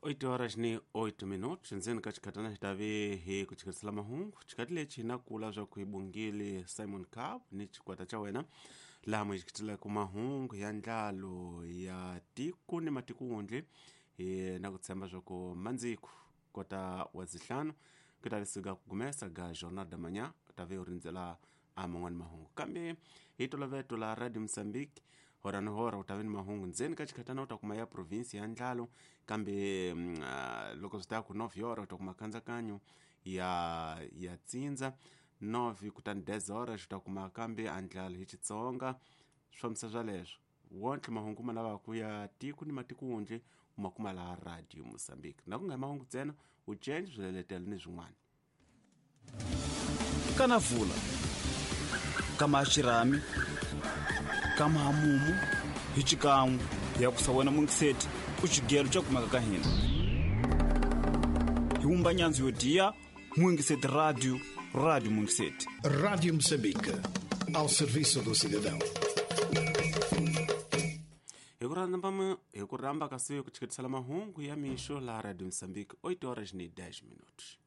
8 horas ni 8 minutos ndzeni ka xikhatana xi tave hi ku chikerisela mahungu. Xikati lexi na kula swa ku hi bungile Simon Cab ni xikwata xa wena laha mu hi xiketelaka mahungu ya ndlalo ya tiko ni matikuwundli hi na ku tshemba swa ku mandziku kota wa zihlanu ku ta suka ku gumesa ga Jornal da Manhã u ta ve u rindzela a man'wani mahungu, kambe hi toloveto la Radio Mozambique hora ni hora u ta ve ni mahungu ndzeni ka xikhatana u ta kuma ya provinsi ya ndlalo, kambe loko swi ta ku 9 hora u ta kuma khandzakanyo ya tsindza 9, kutani 10 horas u ta kuma kambe andlalo hi Xitsonga. Swi fambisa swaleswo wonke mahungu ma lavaka ya tiko ni matikuwundli u ma kuma laha Radio Mozambique, na ku nga hi mahungu ntsena u change swileletelo ni swin'wana. Kana vula kama xirhami kama hamumu hi xikan'we ya kusa wena mungiseti u xigelo xa kumeka ka hina hi wumba nyandzu yo diya Mungiseti Radio, Radio Mungiseti. Rádio Moçambique, ao serviço do cidadão. Hi ku rhamba ka siku ku chiketisela mahungu ya mixo laha Radio Mozambique, 8 horas ni 10 minutos.